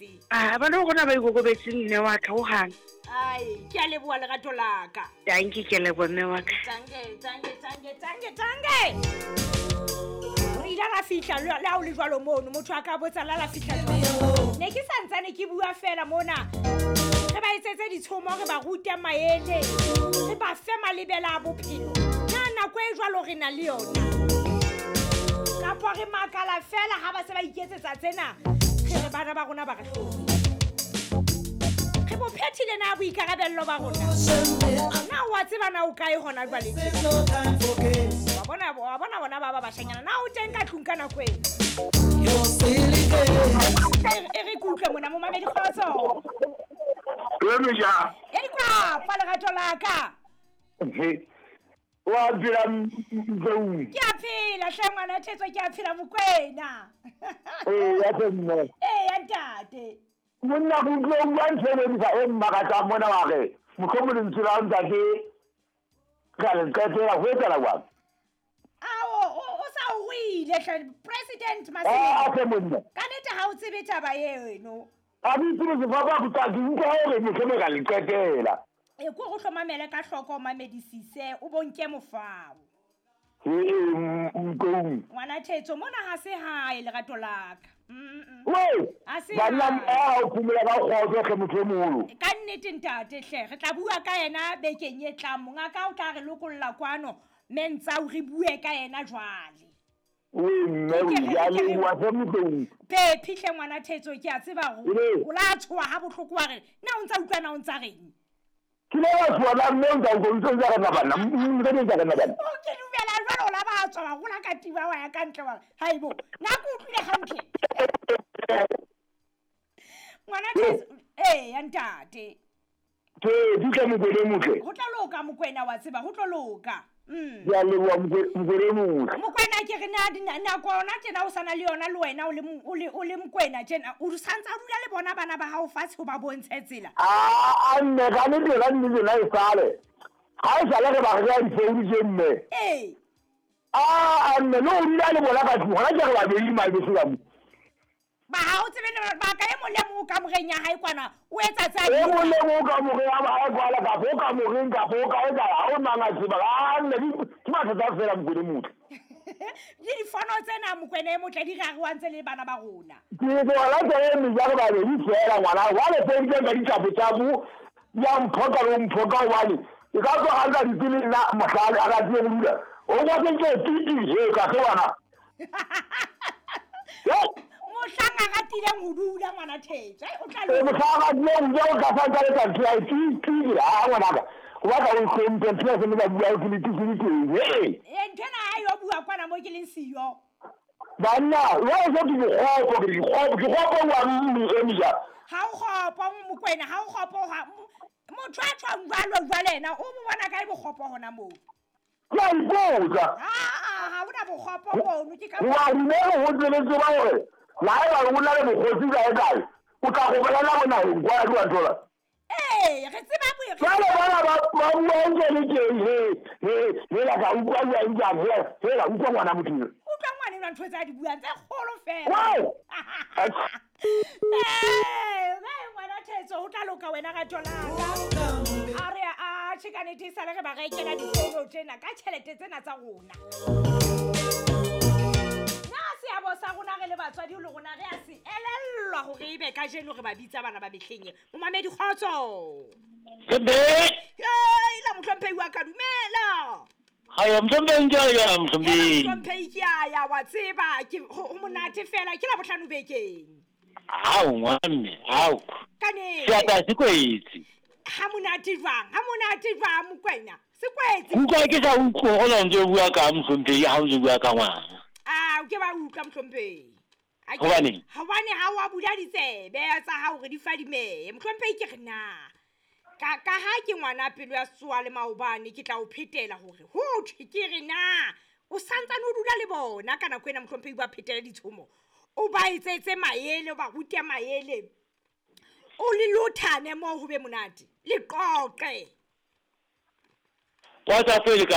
ikokobetse. A bana ba rona ba ikokobetse mme wa ka hohang. Ai, ke a leboha lerato la ka. Dankie, ke a leboha mme wa ka. Tange, tange, tange, tange, tange. Re ile ra fihla le ha o le jwalo mono, motho a ka botsa la la fihla jwang. Ne ke santsane ke bua fela mona. Re ba etsetse ditshomo, re ba rute maele, re ba fe malebela a bophelo. Na nako e jwalo re na le yona? Kapa re makala fela ha ba se ba iketsetsa tsena, re re bana ba rona ba re hloka. Re bo phethile na boikarabello ba rona? Na wa tseba na o kae hona jwale? Wa bona bona ba ba bashanyana. Na o teng ka tlung ka nako ena? E re ke utlwe mona momamedi kgotso. Re E di kwa fa lerato la ka. Wa phela Mzou. Ke a phela hle ngwana Thetso, ke a phela Mokwena. Ee, ya tle mme. Ee, ya ntate. Monna go utlwe o bua ntho e lebisa e mmakatsang mona wa re mohlomong lentswe la ntate ka le qetela ho etsahala jwang? Ao, o sa o ruile hle President A Masileng. tle monna. Ka nnete ha o tsebe taba eno. A ke itse sefapa go tla ke utlwa hore mohlomong ka le qetela. E ko go hlomamele ka hloko o mamedisise o bonke mofao. Ee, Mkoung. Ngwana Thetso mona ha se hae lerato la ka. Wee, Ha se banna hae. a o phumula ka kgotso hle motho e moholo. Ka nnete ntate hle, re tla bua ka yena bekeng e tlang. Mongaka o tla re lokolla kwano mme ntsa o re bue ka yena jwale. Wee mme o ya leboha hle Mkoung. Phephi hle ngwana Thetso, ke a tseba hore Ee. o la tshoha ha bohloko wa re na o ntsa utlwa na o ntsa reng? Ke ile ka tshoha la mme o ntsa utlwa, o ntsa re na bana, ntsa re na bana. O ke dumela jwale o la ba tswa wa gola ka tiba wa ya ka ntle wa re, haibo, na ke utlwile hantle. Ngwana Thetso, ee ya ntate. Ke di tla Mokwena e motle. Ho tla loka Mokwena wa tseba, ho tlo loka. Ke a leboha Mokwena e motle. Mokwena ke re na nako yona tjena o sana le yona le wena o le Mokwena tjena, o santsa o dula le bona bana ba hao fatshe ho ba bontshe tsela. A mme ka nnete ka nnete nna e sale. Ha e sale re ba re ka difounu tje mme. Ee. A mme le o dula le bona ka tlung, hona ke re babedi malbeso ka mo. Ba ha o tsebe le ba ka e mong le mong o kamoreng ya hae kwana, o etsa tsa E mong le mong o kamoreng ya hae kwana, kapa o kamoreng, kapa o ka etsa, ha o mang a tseba. A mme ke mathata feela Mokwena e motle. Le difono tsena Mokwena e motle di rarowang tse le bana ba rona. Ke tsona tse e meja re babedi feela ngwana. Jwale founu tse nka ditjhapo-tjhapo, ya mphoka le ho mphoka hobane e ka tswa a nka ditse le nna mohlale a ka tsebe ho dula. O kwa ke ntse titi he ka se ngwana. Mohlang a ratileng ho dula ngwana Thetso, o tla Ee, mohlang a ratileng ho dula o tla sa ntsa le tsa ntho ya hae, titi, titi, ha ngwanaka. O batla o hlomphe ntho ya se le ba bua ke le titi le teng, he. Ee, ntho ena ha yo bua kwana mo ke leng siyo. Banna, jwale se ke dikgopo, ke dikgopo, ke kgopo wa mme e meja. Ha o kgopo Mokwena, ha o kgopo ha motho a tshwang jwalo jwale yena, o mo bona kae bokgopo hona moo? Ke a ipotsa. Ha hona bokgopo mono, ke ka Wa dumela ho ntse le tseba hore la haeba o na le bokgotsi kae kae, o tla go bolela bonaheng kwa di wa thola. Ee, re tseba bo- Jwale bana ba bua ntse le teng, he, he, he, la ka utlwa bua ntse a he, he, la utlwa ngwana motho eo. Utlwa ngwana enwa ntho tse a di buang tse kgolo fela. Wow! Ee, ngwana Thetso, ho tla loka wena rato la ka. A re a tjhe ka nnete esale re ba rekela difounu tsena ka tjhelete tsena tsa rona. Na seabo sa rona re le batswadi le rona re a se elellwa hore ebe kajeno re ba bitsa bana ba mehleng e. Momamedi kgotso. Ebe. Ee, la mohlomphehi wa ka, dumela. Haya, mohlomphehi ke a ya, mohlomphehi. Mohlomphehi ke a ya, wa tseba, ke ho monate fela, ke Labohlano bekeng. Hao, ngwana mme, hao. Ka nnete. Seatla se kwetse. Ha monate jwang, ha monate jwang, Mokwena? Se kwetse. Utlwa ke sa utlwe hore o ntse o bua ka mohlomphehi, ha o ntse o bua ka ngwana. Ah, o ke ba utlwa mohlomphehi. Hobaneng? Hobane ha o a bula ditsebe tsa hao hore di fadimehe. Mohlomphehi ke re na. Ka ha ke ngwana pelo ya tsoa le maobane, ke tla o phetela hore ho thwe ke re na. O santsane o dula le bona ka nako ena mohlomphehi ba phetele ditshomo. O ba etsetse maele, o ba rute maele. O le lothane moo ho be monate. Le qoqe. WhatsApp e le kae?